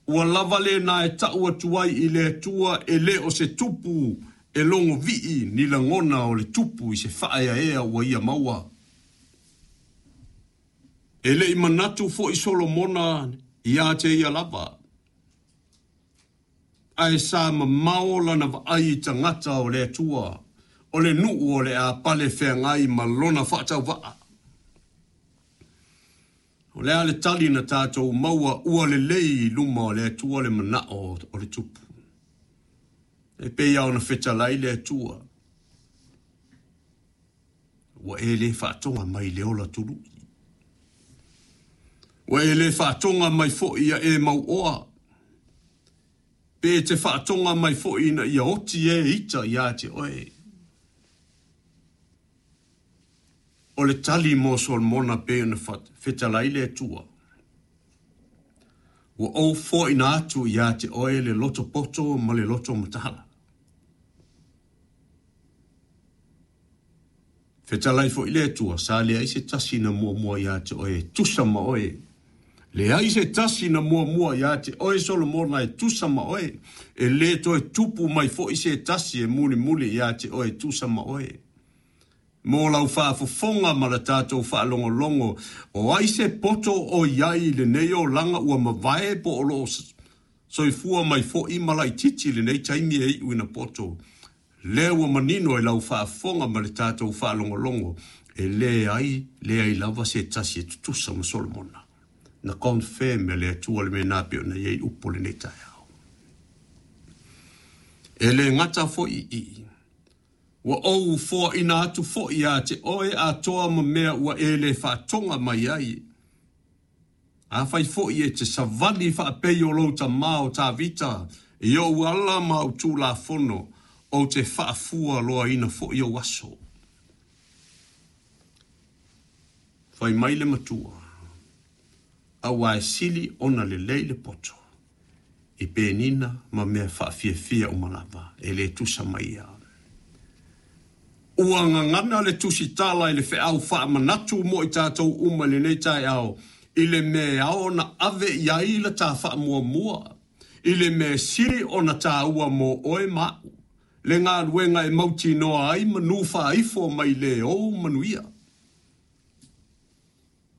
Ua lava lena e ta'u atu ai i le Atua e le o se tupu e logovii ni lagona o le tupu i se faaeaea ua ia maua. E le i manatu foi Solomona ia te ia lava, ae sa mamao lana vaai i tagata o le Atua, o le nuu o le a pale feagai ma lona faatauvaa. O le a le tali na tatou maua ua lelei i luma o le Atua le manao o le tupu. E pei lava ona fetalai le Atua, ua e le faatoga mai i le ola tului. Ua e le faatoga mai foi ia e mauoa, pe e te faatoga mai foi ina ia oti e ita ia te oe. O le tali mo Solomona pei ona fetalai le Atua, Ua ou foaina atu ia te oe le loto poto ma le loto mataala. Fetalai foi le Atua, sa leai se tasi na muamua ia te oe e tusa ma oe. Leai se tasi na muamua ia te oe Solomona e tusa ma oe, e le toe tupu mai foi se tasi e mulimuli ia te oe e tusa ma oe. Mo lau faafofoga ma la tatou faalogologo, o ai se poto o i ai i lenei olaga ua mavae po o lo o soifua mai foi ma laitiiti i lenei taimi e iu ina poto? Lea ua manino i lau faafofoga ma le tatou faalogologo, e leai, leai lava se tasi e tutusa ma Solomona. Na confirm e le Atua le mea na pei ona i ai upu o lenei taeao. E le gata foi i i, Ua ou foaina atu foi ia te oe atoa ma mea ua e le faatoga mai ai. Afai foi e te savali faapei o lou tama o Tavita i ou ala ma au tulafono, ou te faafua loaina foi ou aso. Fai mai le matua, Aua e sili ona lelei le poto i penina ma mea faafiafia uma lava, e le tusa ma ia. Ua gagana le tusitala i le feau faamanatu mo i tatou uma i lenei taeao i le mea e ao ona ave i ai la ta faamuamua, i le mea e sili ona taua mo oe ma aʻu, le galuega e mautinoa ai manu faaifo mai le ou manuia.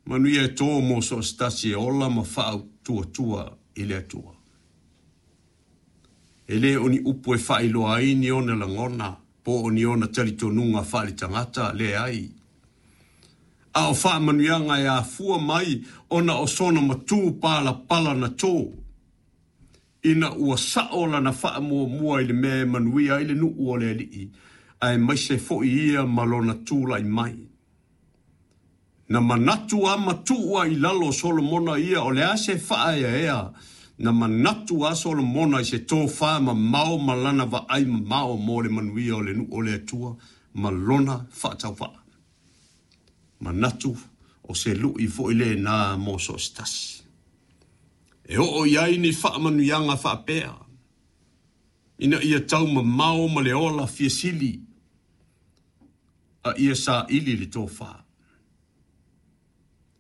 Manuia e tō mō so o se tasi e ola ma faautuatua i le Atua. E le o ni upu e faailoa ai ni ona lagona po o ni ona talitonuga faaletagata, leai. A o faamanuiaga e afua mai ona o sona matū palapala na tō, ina ua sa'o lana faamuamua i le mea e manuia ai le nuu o le Alii, aemaise foi ia ma lona tulai mai. Na manatu a matuu a i lalo o Solomona ia o le a se faaeaea, na manatu a Solomona i se tofā mamao ma lana vaai mamao mo le manuia o le nuu o le Atua ma lona faatauvaa. Manatu o se luʻi foi lena mo so o se tasi. E oo i ai ni faamanuiaga faapea, ina ia tau mamao ma le ola fia sili, a ia saili le tofa.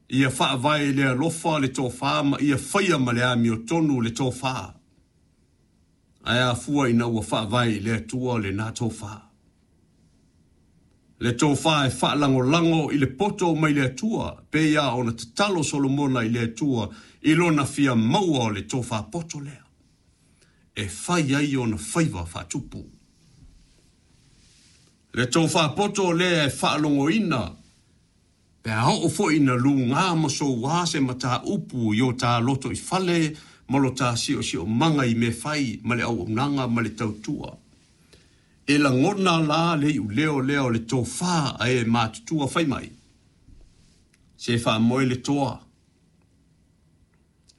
Ia faavae i le alofa le tofa ma ia faia ma le amiotonu le tofa. Ae afua ina ua faavae i le Atua lena tofa. Le tofa e faalagolago i le poto mai le Atua, pei lava ona tatalo Solomona i le Atua i lona fia maua o le tofa poto lea e fai ai ona faiva faatupu. Le tofa poto lea e faalogoina pe a oo foi ina lugā ma souā se mataupu i o tā lotoifale ma lo tā siosiomaga i mea fai ma le auaunaga ma le tautua. E lagona la le iuleo lea o le tofa a e matutua fai mai, Se faamoe le toa.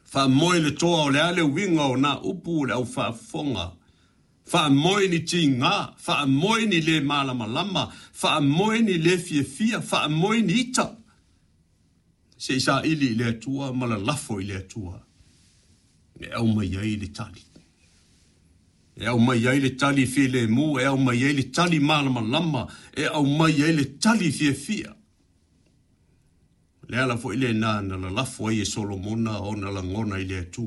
Faamoe le toa o le a le uiga o nā upu o le au faafofoga? Faamoe ni tigā, faamoe ni lē malamalama, faamoe ni lē fiafia, faamoe ni ita. Se i saili i le Atua ma lalafo i le Atua e aumai ai le tali. E aumai ai le tali filemu, e aumai ai le tali malamalama, e aumai ai le tali fiafia. O le ala foi lena na lalafo ai e Solomona ona lagona i le Atua.